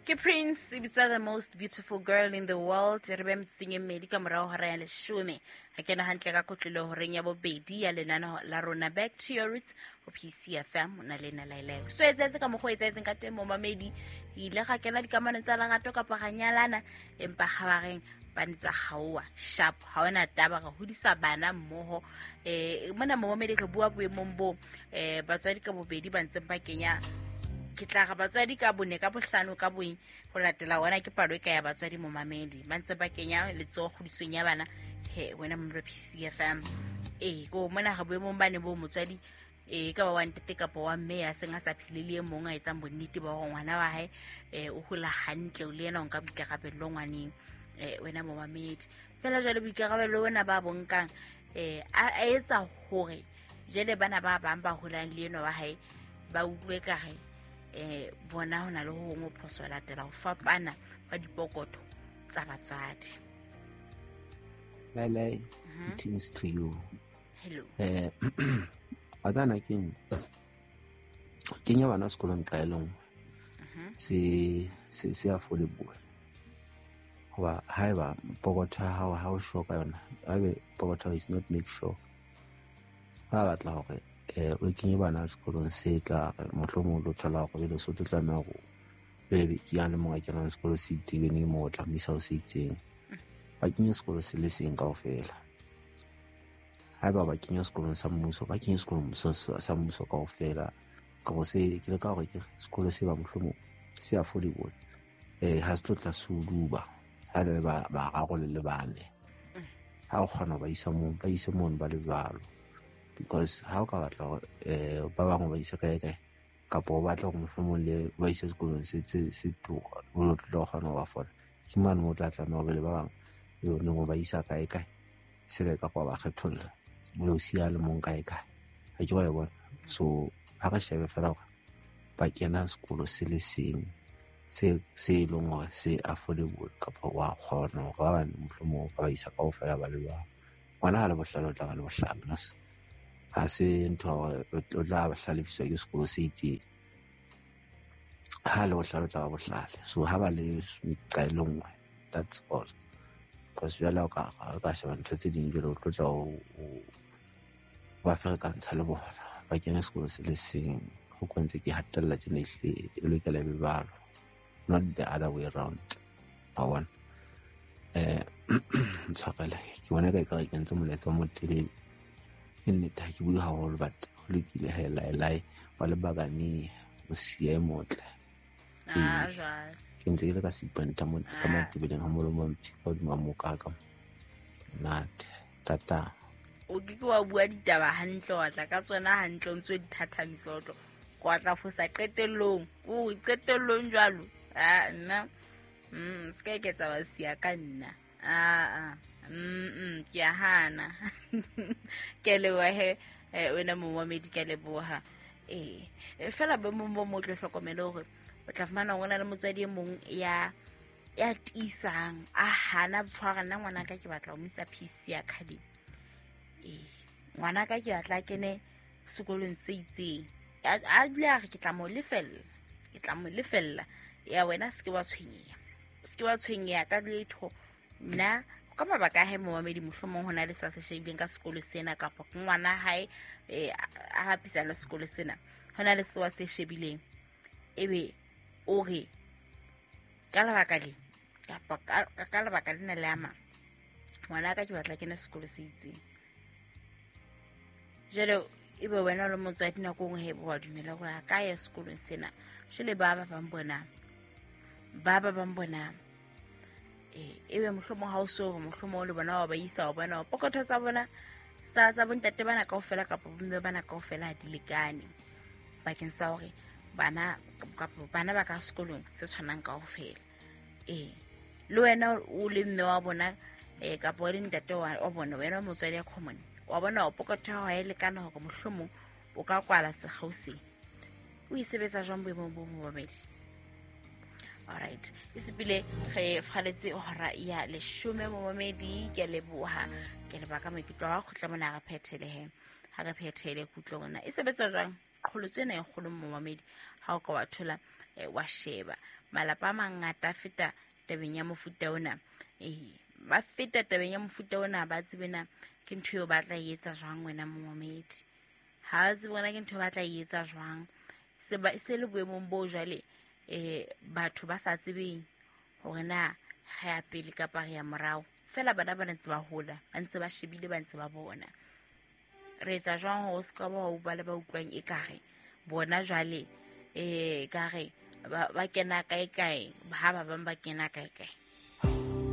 Ke Prince e bitswa The Most Beautiful Girl in the World. Re be metsotsong e mmedi ka morago hora ya leshome. Re kena hantle ka kotlolo horeng ya bobedi ya lenaneo la rona Back to Your Roots ho PCFM o na le nna Lailai. So etsahetse ka mokgwa o etsahetseng ka teng momamedi. Re ile ga kena dikamanong tsa lerato kapa ga nyalana empa kgabareng ba ne tsa kgaoa sharp ha ona taba re hodisa bana mmoho. Mona momamedi re bua boemong bo batswadi ka bobedi ba ntseng ba kenya, ke tla re batswadi ka bone ka bohlano ka boeng ho latela ona ke palo e ka ya batswadi momamedi ba ntse ba kenya letsoho kgodisong ya bana. He wena momelo PCFM, ko mona re boemong bane bo motswadi ka ba wa ntate kapa wa mme ya seng a sa phele le e mong a etsang bonnete ba hore ngwana wa hae o hola hantle, o le yena o nka boikarabello ngwaneng. Wena momamedi fela jwale boikarabello bona ba bonkang a etsa hore jwale bana ba bang ba holang le enwa wa hae ba utlwe kare bona ho na le ho hongwe phoso latela ho fapana ba dipokotho tsa batswadi. Lailai, greetings to you. Hello. Wa tsana ke kenya bana sekolong nqa e le nngwe. Se affordable. Hoba haeba pokotho ya hao ha o sure ka yona, haebe pokotho is not make sure, ba batla hore o kenye bana sekolong se tla re mohlomong o tlo thola hore jwale so tlo tlameha hore pele ke ya le mong a kenang sekolo se itseng, ebe neng moo o tla mo isa ho se itseng. Ba kenye sekolo se le seng kaofela. Haeba ba kenya sekolong sa mmuso, ba kenye sekolong sa mmuso kaofela. Kapa se ke leka hore ke sekolo se ba mohlomong se affordable. Ha se tlo tla se o duba ha le ba bararo le le bane. Ha o kgona ho ba isa moo, ba ise mono ba le jwalo. Because ha o ka batla hore ba bangwe ba ise kae kae, kapa o batla hore mohlomong le ba ise sekolong se tura, o tlo kgona ho ba fola. Ke mane moo o tla tlameha hore le ba bang le neng o ba isa kae kae, se ka ka ba kgetholla, le o siya le mong kae kae. Ha ke wa e bona. So ha re shebe fela hore ba kena sekolo se le seng se e leng hore se affordable, kapa wa kgona hore ba bang mohlomong ba ba isa kaofela ba le jwalo. Ngwana ha le bohlale o tla ba le bohlale, mos. Ha se ntho hore o tla hlalefiswa ke sekolo se itseng. Ha le bohlale o tla ba bohlale. So ha ba le nqa e le nngwe, that's all. Because jwale o ka sheba ntho tse ding jwale o tlo tla o ba ferekantsha le bona. Ba kene sekolo se le seng. Ho kwentse ke hatella tjena ehlile e lokela e be jwalo. Not the other way round. Wa bona? Ntshwarele, ke bona ka ekare ke entse molaetsa o motelele. Ke nnete ha ke bue haholo, but ho lokile he, lae, wa lebakane, o siya e motle. Jwale. Ke ntse ke le ka Seipanta mo, ka Matebeleng ha molomo wa mphi, ka hodima moo ka ka. Nate, tata. O ke ke wa bua ditaba hantle, wa tla ka tsona hantle, o ntso di thathamisa, o tlo wa tla fosa qetellong. O qetellong jwalo. Nna. Se ka eketsa ba siya ka nna. Ke a hana. Ke a leboha he, wena momamedi, ke a leboha. Fela bo mong bo mo tlo hlokomele hore o tla fumana hore ho na le motswadi e mong ya tiisang, a hana tshwara nna ngwana ka ke batla ho mo isa PC Academy. Ngwana ka ke batla a kene sekolong se itseng. A dule a re ke tla mo lefella, ke tla mo lefella. Ya wena se ke wa tshwenyeha, se ke wa tshwenyeha ka letho. Nna ka mabaka a hae momamedi, mohlomong ho na le sa se shebileng ka sekolo sena, kapa ke ngwana hae, a hapisa le sekolo sena, ho na le seo a se shebileng. Ebe o re ka lebaka le, kapa ka lebaka lena le ama ngwana ka ke batla kena sekolo se itseng. Jwale ebe wena o le motswadi nako nngwe he wa dumela hore a ka ya sekolong sena. Jwale ba ba bang bona, ba ba bang bona, ebe mohlomong ha o so hore mohlomong o le bona wa ba isa, wa bona pokotho tsa bona tsa bontate bana kaofela kapa bomme bana kaofela ha di lekane bakeng sa hore bana kapa bana ba ka sekolong se tshwanang kaofela. Le wena o le mme wa bona, kapa o le ntate wa bona, wena o motswadi ya common, wa bona o pokotho ya hao ha e lekana hore mohlomong o ka kwala sekgeo sena. O e sebetsa jwang boemong bo momamedi? Alright, e sepile re faletse hora ya leshome momamedi. Ke a leboha, ke a leboha ka maikutlo a kgutla mona re phethele he. Ha re phethele kutlo rona e sebetsa jwang? Qholotso ena e kgolo momamedi, ha o ka wa thola Wa sheba malapa a mangata a feta tabeng ya mofuta ona, ba feta tabeng ya mofuta ona, ba tsebe na ke ntho eo ba tla e etsa jwang. Wena momamedi, ha ba tsebe ona ke ntho eo ba tla e etsa jwang. Se le boemong bo jwale, batho ba sa tsebeng hore na re ya pele kapa re ya morao. Fela bana ba ntse ba hola, ba ntse ba shebile, ba ntse ba bona re etsa jwang hore o se ka ba wa ba le ba utlwang ekare bona jwale, kare ba kena kae kae, ha ba bang ba kena kae kae.